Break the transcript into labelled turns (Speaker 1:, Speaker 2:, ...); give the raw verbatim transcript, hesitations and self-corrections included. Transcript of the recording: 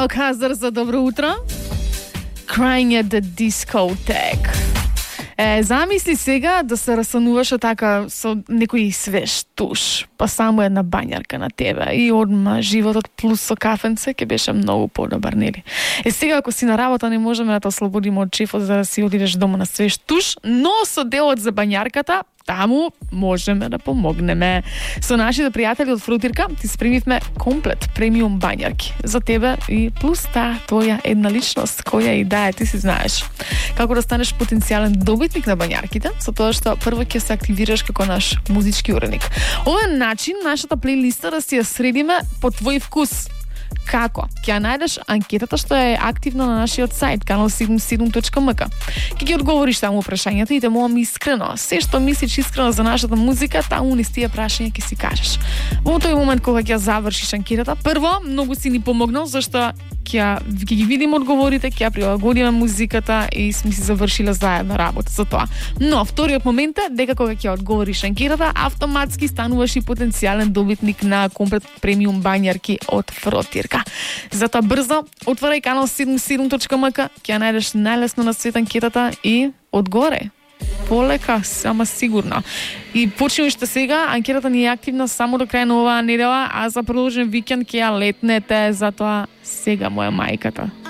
Speaker 1: Biohazard за добро утро. Crying at the discotheque. Е, замисли сега да се расануваш така со некој свеж туш, па само една бањарка на тебе и одма животот плюс со кафенце ќе беше многу подобар, нели? Е, сега ако си на работа не можеме да те ослободиме од шефот за да си одидеш дома на свеж туш, но со делот за бањарката таму можеме да помогнеме. Со нашите пријатели од Фрутирка ти спремивме комплет премиум бањарки за тебе и плюс таа твоја една личност која и да е, ти си знаеш. Како да станеш потенцијален добитник на бањарките, со тоа што прво ќе се активираш како наш музички уредник. Ова е начин нашата плейлиста да си ја средиме по твој вкус. Како? Ќе ја најдеш анкетата што е активна на нашиот сајт канал седумдесет и седум точка ем ка. Ќе ги одговориш таму прашањата и те молам искрено. Се што мислиш искрено за нашата музика, таму низ тие прашања ќе си кажеш. Во тој момент кога ќе завршиш анкетата, прво многу си ни помогнал зашто ќе ќе ги видиме одговорите, ќе прилагодиме музиката и сме си завршиле заедно работа за тоа. Но вториот момент е дека кога ќе одговориш анкетата, автоматски стануваш и потенцијален добитник на комплет премиум бањарки од Фрутирка. Затоа брзо отворај канал седумдесет и седум точка ем ка, ќе ја најдеш најлесно на свет анкетата и одгоре. Полека, сама сигурно. И почни уште сега, анкетата ни е активна само до крај на оваа недела, а за продолжен викенд ќе ја летнете, затоа сега моја мајката.